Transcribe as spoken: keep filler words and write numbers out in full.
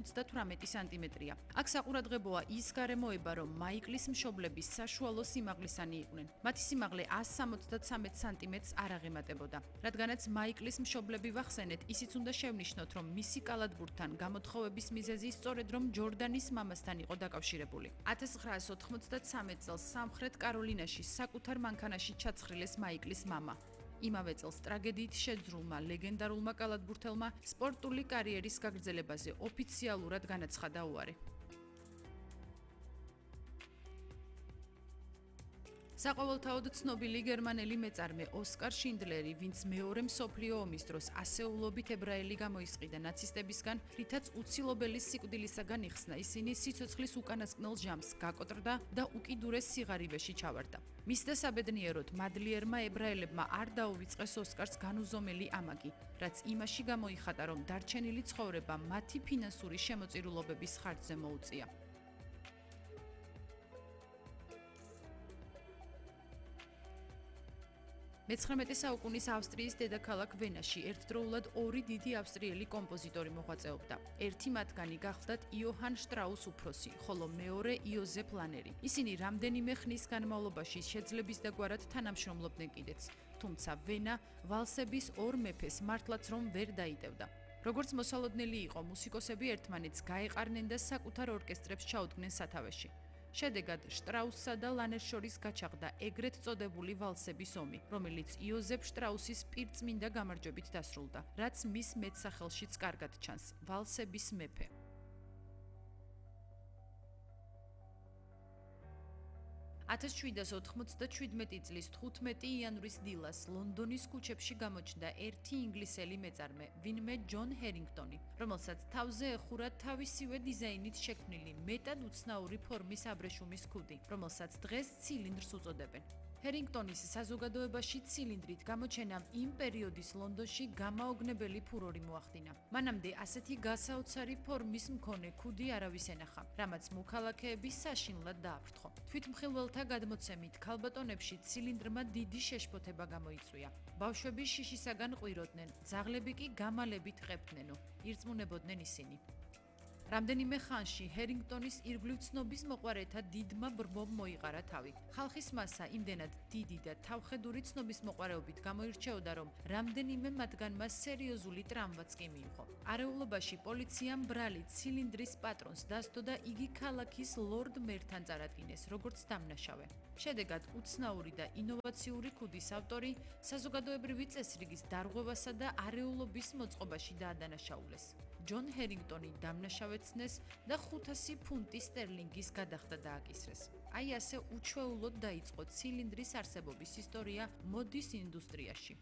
ოცდათვრამეტი სანტიმეტრია. აქ საყურადღებოა ის გარემოება, რომ მაიკლის მშობლები საშუალო სიმაღლისანი იყვნენ. მათი სიმაღლე ას სამოცდათსამეტ სანტიმეტრს არ აღემატებოდა. რადგანაც მაიკლის მშობლები ვახსენეთ, ისიც უნდა შევნიშნოთ, რომ მისი კალათბურთთან გამოთხოვების მიზეზი სწორედ რომ ჯორდანის მამასთან იყო დაკავშირებული. ათას ცხრაას ოთხმოცდათსამეტ წელს სამხრეთ კაროლინაში საკუთარ მანქანაში ჩაცხრილეს მაიკლის მამა. იმავე წელს ტრაგედიით შეძრულმა ლეგენდარულმა კალათბურთელმა სპორტული კარიერის გაგრძელებაზე ოფიციალურად განაცხადა უარი. საყოველთაოდ ცნობილი გერმანელი მეწარმე ოსკარ შინდლერი, ვინც მეორე მსოფლიო ომის დროს ასეულობით ებრაელი გამოისყიდა ნაცისტებისგან, რითაც უცილობელი სიკვდილისაგან იხსნა, ისინი სიცოცხლის უკანასკნელ ჟამს გაკოტრდა და უკიდურეს სიღარიბეში ჩავარდა. მისდა საბედნიეროდ მადლიერმა ებრაელებმა არ დაუვიწყეს ოსკარს განუზომელი ამაგი, რაც იმაში გამოიხატა, რომ დარჩენილი ცხოვრება მათი ფინანსური შემოწირულობების ხარჯზე მოუწია. მეცხრამეტე საუკუნის ავსტრიის დედაქალაქ ვენაში ერთდროულად ორი დიდი ავსტრიელი კომპოზიტორი მოღვაწეობდა. ერთი მათგანი გახლდათ იოჰან შტრაუს უფროსი, ხოლო მეორე იოზეფ ლანერი. ისინი რამდენიმე ხნის განმავლობაში შეძლებისდაგვარად თანამშრომლობდნენ კიდეც, თუმცა ვენა ვალსების ორ მეფეს მართლაც რომ ვერ დაიდევდა. როგორც მოსალოდნელი იყო, მუსიკოსები ერთმანეთს გაეყარნენ და საკუთარ ორკესტრებს ჩაუდგნენ სათავეში. შედეგად შტრაუსსა და ლანერს შორის გაჩაღდა ეგრეთ წოდებული ვალსების ომი, რომელიც იოზეფ შტრაუსის პირწმინდა გამარჯვებით დასრულდა, რაც მის მეტსახელშიც კარგად ჩანს ვალსების მეფე. ათას შვიდას ოთხმოცდაშვიდმეტი წლის თხუთმეტი იანვრის დილას ლონდონის ქუჩებში გამოჩნდა ერთი ინგლისელი მეწარმე, ვინმე ჯონ ჰერინგტონი, რომელსაც თავზე ეხურა თავისივე დიზაინით შექმნილი მეტად უცნაური ფორმის აბრეშუმის ქუდი, რომელსაც დღეს ცილინდრს უწოდებენ. ჰერინგტონის საზოგადოებაში ცილინდრით გამოჩენამ იმ პერიოდის ლონდონში გამაოგნებელი ფურორი მოახდინა. მანამდე ასეთი გასაოცარი ფორმის მქონე ქუდი არავის ენახა, რამაც მოქალაქეები საშინლად დააფრთხო. თვითმხილველთა გადმოცემით, ქალბატონებში ცილინდრმა დიდი შეშფოთება გამოიწვია. ბავშვები შიშისაგან ყვიროდნენ, ძაღლები კი გამალებით ყებდნენო, ირწმუნებოდნენ ისინი. რამდენიმე ხანში ჰერინგტონის ირგვლივ ცნობის მოყვარეთა დიდმა ბრბომ მოიყარა თავი. ხალხის მასა იმდენად დიდი და თავხედური ცნობის მოყვარეობით გამოირჩეოდა, რომ რამდენიმე მათგანმა სერიოზული ტრავმაც კი მიიღო. არეულობაში პოლიციამ ბრალი ცილინდრის პატრონს დასდო და იგი ქალაქის ლორდ მერთან წარადგინეს, როგორც დამნაშავე. შედეგად უცნაური და ინოვაციური ქუდის ავტორი საზოგადოებრივი წესრიგის დარღვევასა და არეულობის მოწყობაში დაადანაშაულეს. ჯონ ჰერინგტონი დამნაშავეცნეს და ხუთასი ფუნტი სტერლინგის გადახდა დააკისრეს. აი ასე უჩვეულოდ დაიწყო ცილინდრის არსებობის ისტორია მოდის ინდუსტრიაში.